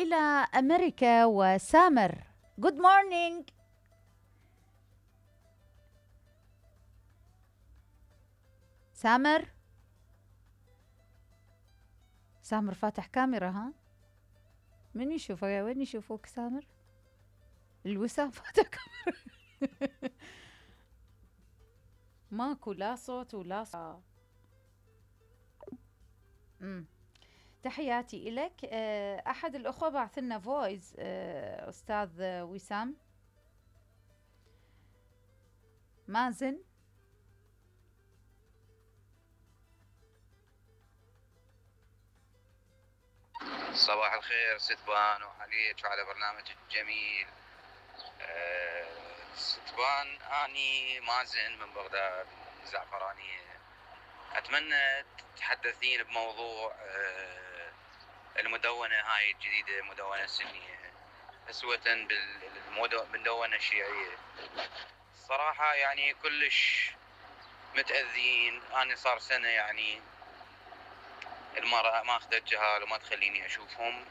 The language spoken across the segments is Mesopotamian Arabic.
إلى أمريكا وسامر. Good morning. سامر فاتح كاميرا ها؟ من يشوفه؟ وين يشوفوك سامر؟ الوسام فاتح كاميرا. ماكو لا صوت ولا صوت. تحياتي إلك. أحد الأخوة بعث لنا فويس، أستاذ وسام. مازن. صباح الخير ستبان وعليك وعلى برنامج الجميل. ستبان أني مازن من بغداد الزعفرانية. أتمنى تتحدثين بموضوع المدونة هاي الجديدة، المدونة السنية أسوة بالمدونة الشيعية. الصراحة يعني كلش متأذين. أنا صار سنة يعني المرأة ما أخذت جهال وما تخليني أشوفهم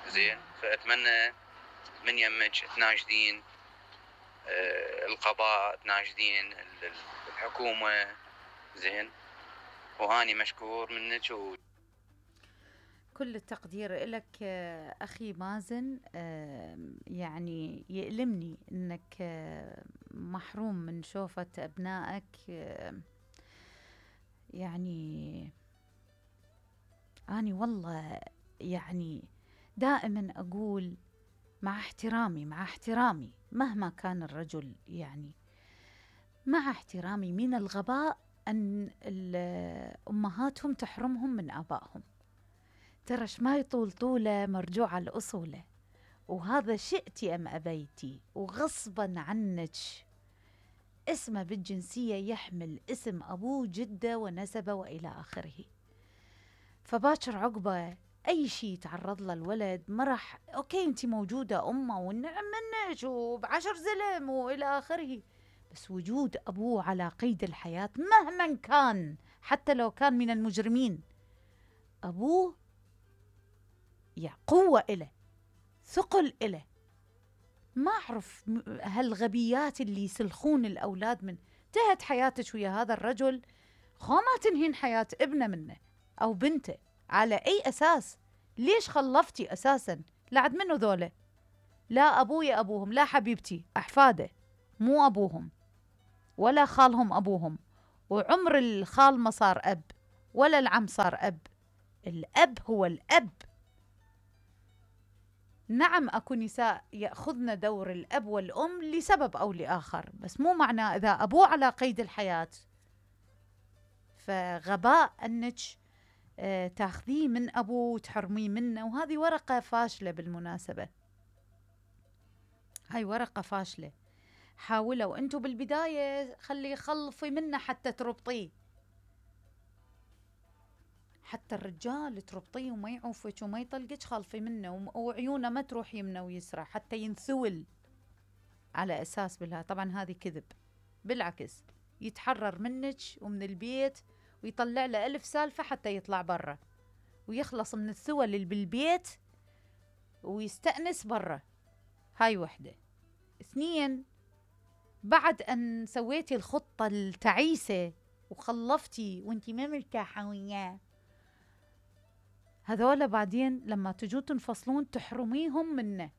زين، فأتمنى من يمك تناشدين القضاء، تناشدين الحكومة زين، وهاني مشكور منك. كل التقدير لك أخي مازن. يعني يؤلمني أنك محروم من شوفة أبنائك. يعني أنا والله يعني دائما أقول مع احترامي مهما كان الرجل، يعني مع احترامي، من الغباء أن أمهاتهم تحرمهم من آبائهم. ترى ما يطول طولة مرجوع الأصولة، وهذا شئتي أم أبيتي وغصبا عنك. اسمه بالجنسية يحمل اسم أبوه جده ونسبه وإلى آخره. فباكر عقبه أي شيء يتعرض له الولد ما راح. أوكي أنت موجودة أمه والنعم منك وب10 زلم وإلى آخره، بس وجود أبوه على قيد الحياة مهما كان، حتى لو كان من المجرمين، أبوه يعني قوة إله، ثقل إله. ما أعرف هالغبيات اللي يسلخون الأولاد من انتهت حياتك ويا هذا الرجل، ما تنهين حياة ابنه منه أو بنته. على أي أساس؟ ليش خلفتي أساسا؟ لعد منه ذوله؟ لا أبوي أبوهم، لا حبيبتي أحفاده مو أبوهم، ولا خالهم أبوهم، وعمر الخال ما صار أب ولا العم صار أب. الأب هو الأب. نعم أكو نساء يأخذن دور الأب والأم لسبب أو لآخر، بس مو معنى إذا أبوه على قيد الحياة فغباء أنك تاخذيه من أبوه وتحرميه منه. وهذه ورقة فاشلة بالمناسبة، هاي ورقة فاشلة. حاولوا أنتوا بالبداية خلفي منه حتى تربطيه، حتى الرجال تربطيه وما يعوفك وما يطلقك، خلفي منه وعيونه ما تروح يمنه ويسرى حتى ينثول على أساس بالها. طبعا هذه كذب، بالعكس يتحرر منك ومن البيت ويطلع له 1000 سالفة حتى يطلع برا ويخلص من الثول اللي بالبيت ويستأنس برا. هاي وحدة. 2، بعد أن سويتي الخطة التعيسة وخلفتي وانتي ما مرتاحة وياه، هذولا بعدين لما تجوا تنفصلون تحرميهم منه.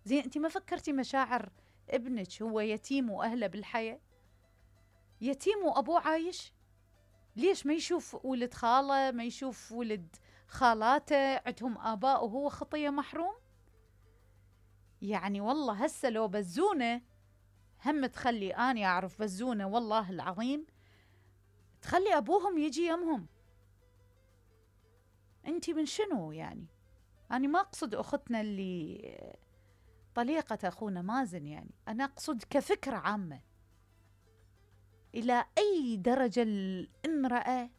زين انتي ما فكرتي مشاعر ابنك؟ هو يتيم وأهله بالحياة، يتيم وأبوه عايش. ليش ما يشوف ولد خاله، ما يشوف ولد خالاته عندهم آباء وهو خطية محروم؟ يعني والله هسه لو بزونة هم تخلي، أنا أعرف بزونة والله العظيم تخلي أبوهم يجي يمهم. أنتي من شنو يعني؟ أنا ما أقصد أختنا اللي طليقة أخونا مازن، يعني أنا أقصد كفكرة عامة. إلى أي درجة الامرأة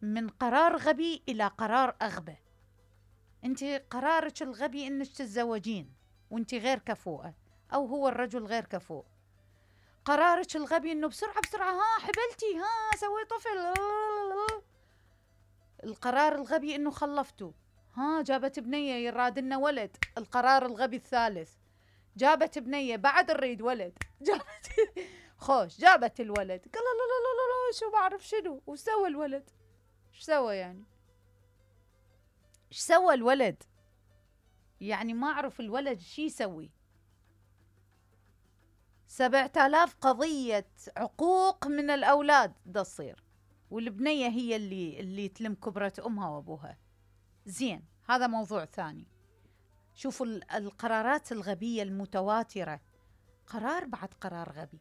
من قرار غبي إلى قرار أغبى؟ أنتي قرارك الغبي أنك تتزوجين وأنتي غير كفوءة، أو هو الرجل غير كفوء. قرارك الغبي أنه بسرعة ها حبلتي، ها سوي طفل. القرار الغبي أنه خلفتوا، ها جابت بنية يراد لنا ولد، القرار الغبي الثالث. جابت بنية بعد نريد ولد، جابت خوش جابت الولد، قال لا لا لا لا لا شو بعرف شنو، وسوى الولد؟ ايش سوى يعني؟ ايش سوى الولد؟ يعني ما اعرف الولد شي يسوي. 7000 قضية عقوق من الأولاد دا تصير، والبنية هي اللي تلم كبرة أمها وأبوها. زين، هذا موضوع ثاني. شوفوا القرارات الغبية المتواترة، قرار بعد قرار غبي،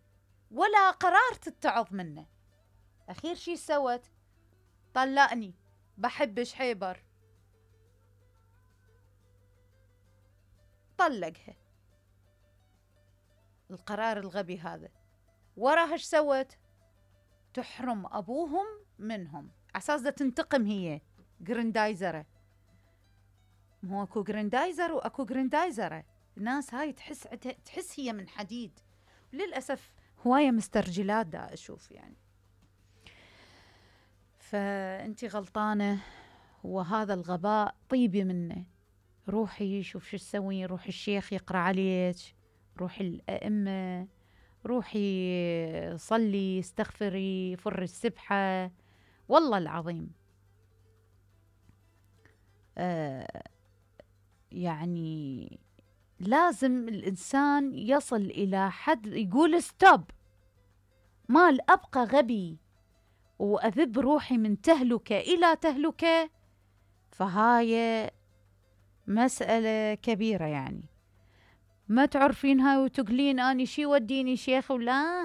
ولا قرار تتعظ منه. أخير شي سوت؟ طلقني، بحبش حيبر، طلقها. القرار الغبي هذا وراها ايش سوت؟ تحرم أبوهم منهم عساس دا تنتقم هي. جريندايزرة، هو اكو جريندايزر واكو جريندايزرة. الناس هاي تحس هي من حديد، للأسف هواية مسترجلات دا أشوف يعني. فأنتي غلطانة، وهذا الغباء طيبي منه. روحي شوف شو تسوين، روحي الشيخ يقرأ عليك، روحي الأئمة، روحي صلي، استغفري، فري السبحة. والله العظيم يعني لازم الإنسان يصل إلى حد يقول ستوب، ما أبقى غبي وأذب روحي من تهلكة إلى تهلكة. فهاي مسألة كبيرة يعني. ما تعرفين هاي وتقولين أني شي وديني شيخ، ولا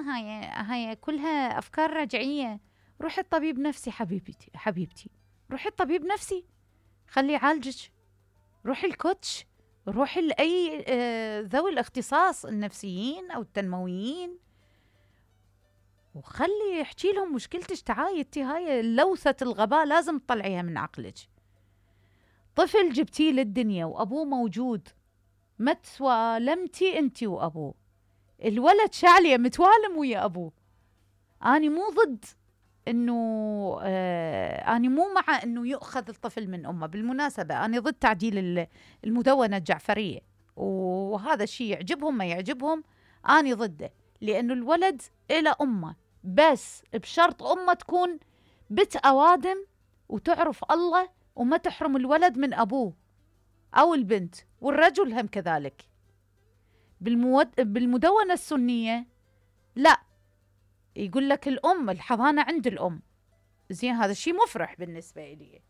هاي كلها أفكار رجعية. روحي الطبيب نفسي حبيبتي، روحي الطبيب نفسي، خلي يعالجك. روحي الكوتش، روحي لأي ذوي الاختصاص النفسيين أو التنمويين، وخلي يحكي لهم مشكلتك. تعاي انتي هاي لوثة الغباء لازم تطلعيها من عقلك. طفل جبتيه للدنيا وأبوه موجود، ما توالمتي انتي وأبوه. الولد شعلية متوالم ويا أبوه. أنا مو ضد انه أنا مو مع انه يؤخذ الطفل من امه. بالمناسبة أنا ضد تعديل المدونة الجعفرية، وهذا الشيء يعجبهم ما يعجبهم أنا ضده، لأنه الولد إلى أمه، بس بشرط أمه تكون بنت أوادم وتعرف الله، وما تحرم الولد من أبوه أو البنت، والرجل هم كذلك. بالمدونة السنية لا، يقول لك الأم الحضانة عند الأم. زين، هذا الشيء مفرح بالنسبة إلي،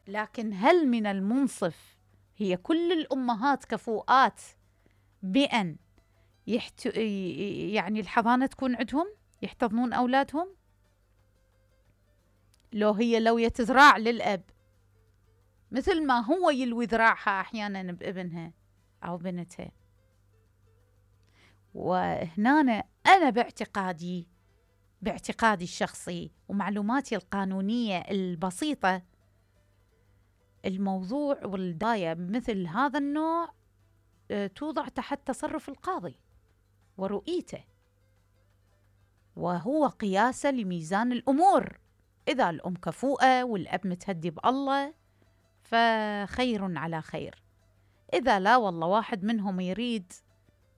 لكن هل من المنصف هي كل الأمهات كفؤات بأن يعني الحضانة تكون عندهم يحتضنون أولادهم؟ لو يتذراع للأب مثل ما هو يلوي ذراعها أحيانا بابنها أو بنتها. وهنا أنا باعتقادي الشخصي ومعلوماتي القانونية البسيطة، الموضوع والداية مثل هذا النوع توضع تحت تصرف القاضي ورؤيته، وهو قياسه لميزان الأمور. إذا الأم كفؤة والأب متهدي بالله فخير على خير. إذا لا والله واحد منهم يريد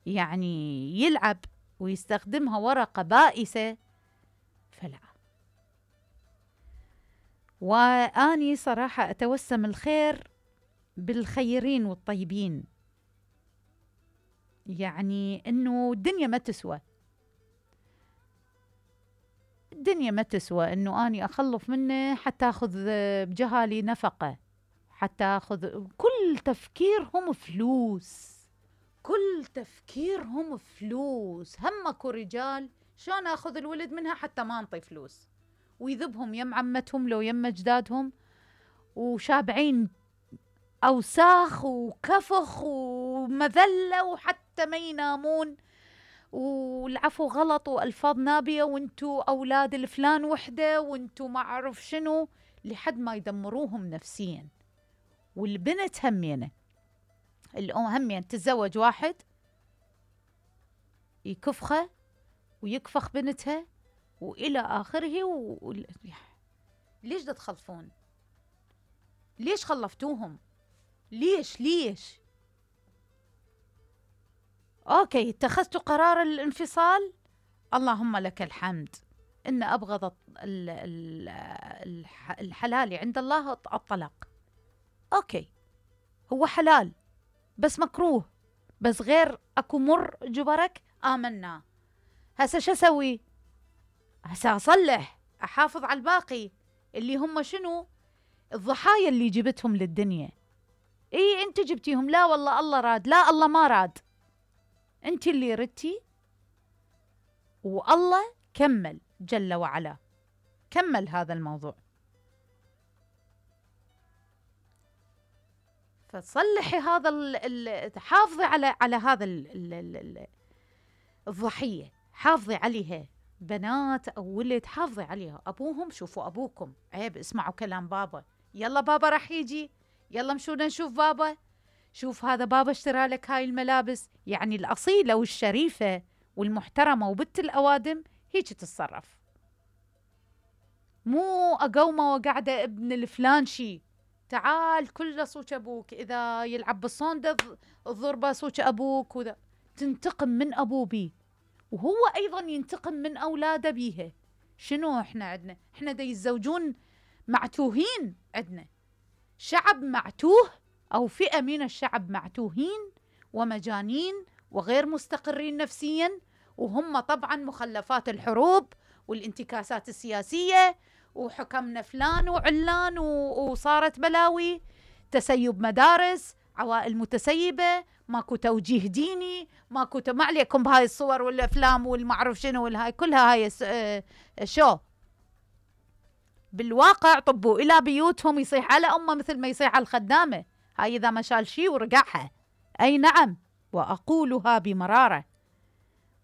يعني يلعب ويستخدمها ورقة بائسة فلا. وأني صراحة أتوسم الخير بالخيرين والطيبين، يعني إنه الدنيا ما تسوى إنه أني أخلف منه حتى أخذ بجهالي نفقة، حتى أخذ. كل تفكيرهم فلوس. همكو رجال شلون أخذ الولد منها حتى ما أنطي فلوس، ويذبهم يم عمتهم لو يم أجدادهم، وشابعين أوساخ وكفخ ومذلة، وحتى ما ينامون، والعفو غلط وألفاظ نابية، وانتو أولاد الفلان وحدة، وانتو ما أعرف شنو، لحد ما يدمروهم نفسيا. والبنت همينة، الأم همين تتزوج واحد يكفخه ويكفخ بنتها وإلى آخره. ليش دا تخلفون؟ ليش خلفتوهم؟ ليش اوكي اتخذت قرار الانفصال، اللهم لك الحمد، ان ابغض الحلال عند الله الطلاق. اوكي هو حلال بس مكروه، بس غير اكو مر جبرك آمنا. هسه شو اسوي؟ هسه اصلح، احافظ على الباقي اللي هم شنو؟ الضحايا اللي جبتهم للدنيا. اي انت جبتيهم، لا والله الله راد، لا الله ما راد، انت اللي ردتي، والله كمل جل وعلا، كمل هذا الموضوع. فصلحي هذا حافظي على هذا الضحية، حافظي عليها، بنات أو ولد حافظي عليها. أبوهم شوفوا أبوكم، عيب اسمعوا كلام بابا، يلا بابا راح يجي، يلا مشونا نشوف بابا، شوف هذا بابا اشترى لك هاي الملابس. يعني الأصيلة والشريفة والمحترمة وبنت الأوادم هيك تتصرف، مو أقومة وقاعدة ابن الفلانشي تعال كل صوت أبوك، إذا يلعب بالصندة الضربة صوت أبوك، وذا تنتقم من أبو بي، وهو أيضا ينتقم من أولاده بيها. شنو إحنا عندنا؟ إحنا دا يتزوجون معتوهين، عندنا شعب معتوه أو فئة من الشعب معتوهين ومجانين وغير مستقرين نفسيا، وهم طبعا مخلفات الحروب والانتكاسات السياسية، وحكمنا فلان وعلان وصارت بلاوي، تسيب مدارس، عوائل متسيبة، ماكو توجيه ديني، ماكو ما عليكم بهاي الصور والأفلام والمعرف شنو والهاي كلها، هاي شو بالواقع طبوا إلى بيوتهم يصيح على أمه مثل ما يصيح على الخدامة، هاي إذا ما شال شي ورقعها. أي نعم، وأقولها بمرارة،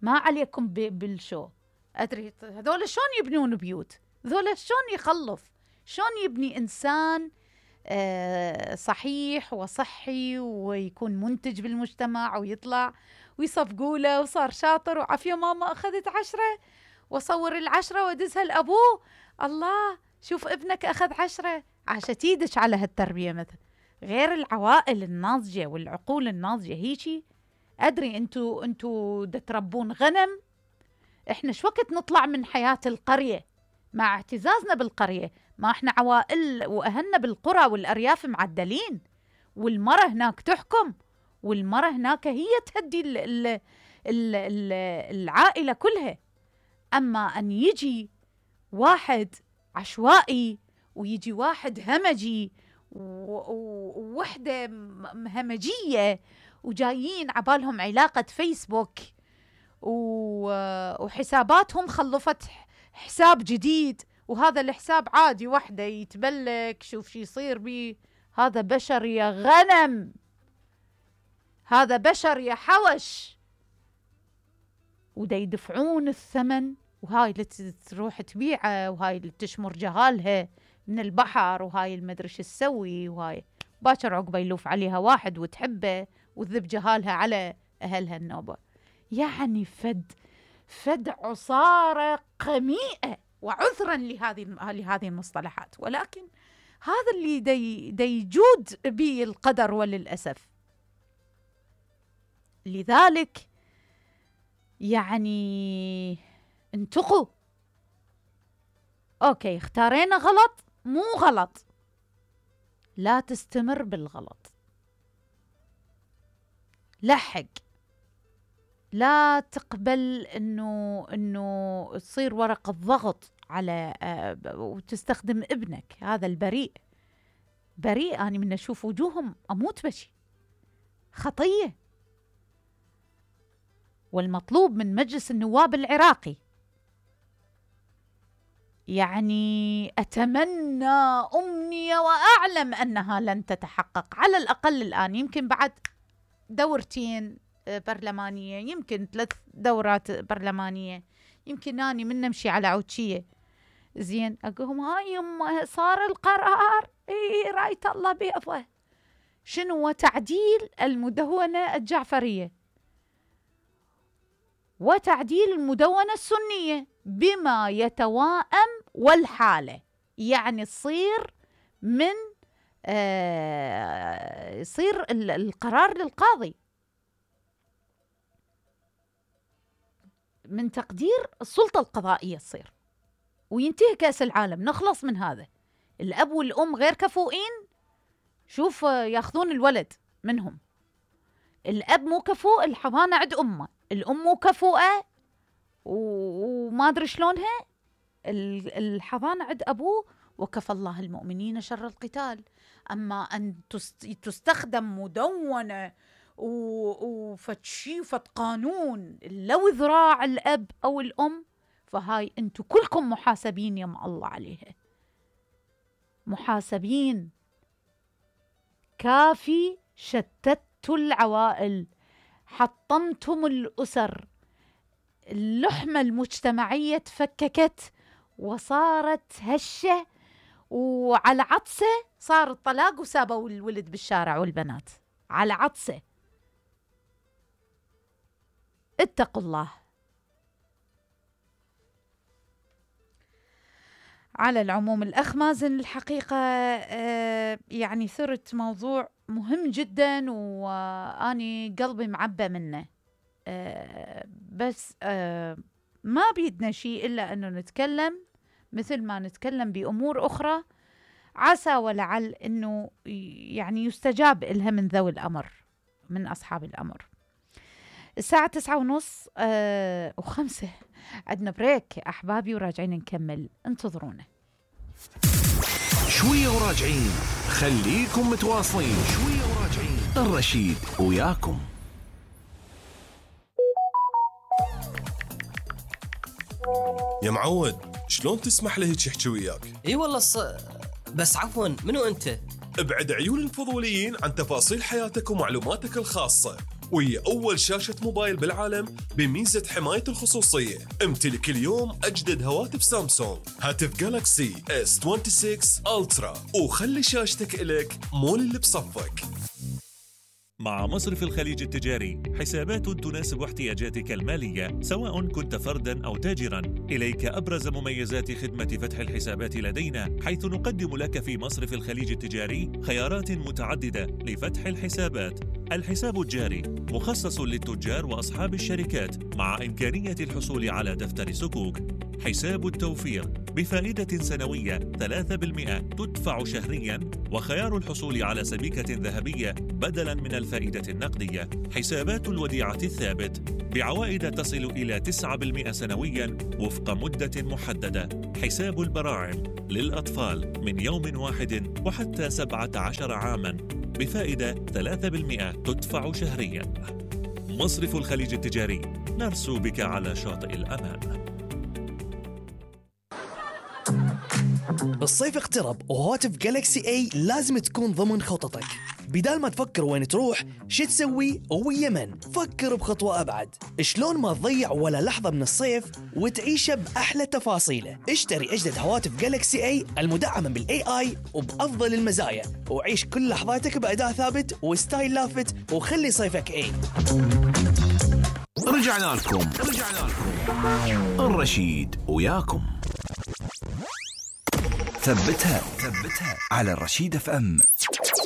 ما عليكم بالشو. أدري هذول شلون يبنون بيوت، هذول شلون يخلف، شلون يبني إنسان صحيح وصحي ويكون منتج بالمجتمع ويطلع ويصفقوا له وصار شاطر وعافية ماما أخذت 10 وصور 10 ودزها لأبوه، الله شوف ابنك أخذ 10، عاشت ايدك على هالتربية. مثل غير العوائل الناضجة والعقول الناضجة هيجي. أدري أنتوا تربون غنم، إحنا شو وقت نطلع من حياة القرية مع اعتزازنا بالقرية، ما إحنا عوائل وأهلنا بالقرى والأرياف معدلين، والمرة هناك تحكم، والمرة هناك هي تهدي العائلة كلها. أما أن يجي واحد عشوائي ويجي واحد همجي ووحدة همجية وجايين عبالهم علاقة فيسبوك وحساباتهم خلفت حساب جديد، وهذا الحساب عادي وحده يتبلك شوف شي يصير بيه. هذا بشر يا غنم، هذا بشر يا حوش، ودا يدفعون الثمن، وهاي اللي تروح تبيعه، وهاي اللي تشمر جهالها من البحر، وهاي المدري شو تسوي، وهاي باكر عقبه يلوف عليها واحد وتحبه وتذب جهالها على أهلها النوبة. يعني فد عصارة قميئة، وعذرا لهذه المصطلحات، ولكن هذا اللي دا يجود به القدر وللأسف. لذلك يعني انتقوا. اوكي اختارينا غلط، مو غلط، لا تستمر بالغلط، لحق، لا تقبل انه تصير ورقة ضغط على وتستخدم ابنك هذا البريء. بريء أنا من أشوف وجوههم أموت بشي، خطية. والمطلوب من مجلس النواب العراقي، يعني أتمنى أمنية وأعلم أنها لن تتحقق، على الأقل الآن، يمكن بعد 2 دورة برلمانية، يمكن 3 دورات برلمانية، يمكن أني من نمشي على عوتشية زين أقولهم هاي يما صار القرار، رايت الله بيضه، شنو؟ تعديل المدونة الجعفرية وتعديل المدونة السنية بما يتوائم والحالة، يعني تصير من يصير القرار للقاضي من تقدير السلطة القضائية تصير، وينتهي كأس العالم، نخلص من هذا. الأب والأم غير كفؤين، شوف ياخذون الولد منهم. الأب مو كفؤ، الحضانة عند أمه. الأم مو كفؤة وما أدري شلونها، الحضانة عند أبوه. وكفى الله المؤمنين شر القتال. أما أن تستخدم مدونة وفتشي فت قانون لو ذراع الأب أو الأم، فهاي أنتوا كلكم محاسبين يم الله عليها، محاسبين. كافي شتتوا العوائل، حطمتم الأسر، اللحمة المجتمعية تفككت وصارت هشة، وعلى عطسة صار الطلاق وسابوا الولد بالشارع والبنات على عطسة. اتقوا الله. على العموم الأخ مازن، الحقيقة يعني ثرت موضوع مهم جدا، وأني قلبي معبى منه. بس ما بيدنا شيء إلا أنه نتكلم مثل ما نتكلم بأمور أخرى، عسى ولعل أنه يعني يستجاب إلها من ذوي الأمر، من أصحاب الأمر. الساعة 9:30 و5 عندنا بريك أحبابي، وراجعين نكمل، انتظرونا شوية وراجعين. خليكم متواصلين، شوية وراجعين. الرشيد وياكم. يا معود، شلون تسمح له هيك يحكي وياك؟ اي والله بس عفوا، منو انت؟ ابعد عيون الفضوليين عن تفاصيل حياتك ومعلوماتك الخاصة، وهي أول شاشة موبايل بالعالم بميزة حماية الخصوصية. امتلك اليوم أجدد هواتف سامسونج، هاتف جالاكسي S26 ألترا، وخلي شاشتك إلك مول اللي بصفك. مع مصرف الخليج التجاري حسابات تناسب احتياجاتك المالية، سواء كنت فرداً أو تاجراً. إليك أبرز مميزات خدمة فتح الحسابات لدينا، حيث نقدم لك في مصرف الخليج التجاري خيارات متعددة لفتح الحسابات. الحساب الجاري مخصص للتجار وأصحاب الشركات، مع إمكانية الحصول على دفتر سكوك. حساب التوفير بفائدة سنوية 3% تدفع شهرياً، وخيار الحصول على سبيكة ذهبية بدلاً من الفائدة النقدية. حسابات الوديعة الثابت بعوائد تصل إلى 9% سنوياً وفق مدة محددة. حساب البراعم للأطفال من يوم واحد وحتى 17 عاماً بفائدة 3% تدفع شهرياً. مصرف الخليج التجاري، نرسو بك على شاطئ الأمان. الصيف اقترب، وهواتف جالكسي اي لازم تكون ضمن خططك. بدال ما تفكر وين تروح شو تسوي ويا من، فكر بخطوة أبعد. شلون ما تضيع ولا لحظة من الصيف وتعيشه بأحلى تفاصيله. اشتري أجدد هواتف جالكسي اي المدعمة بالاي اي وبأفضل المزايا، وعيش كل لحظاتك بأداء ثابت وستايل لافت، وخلي صيفك اي. رجعنا لكم الرشيد وياكم. ثبتها على الرشيد FM.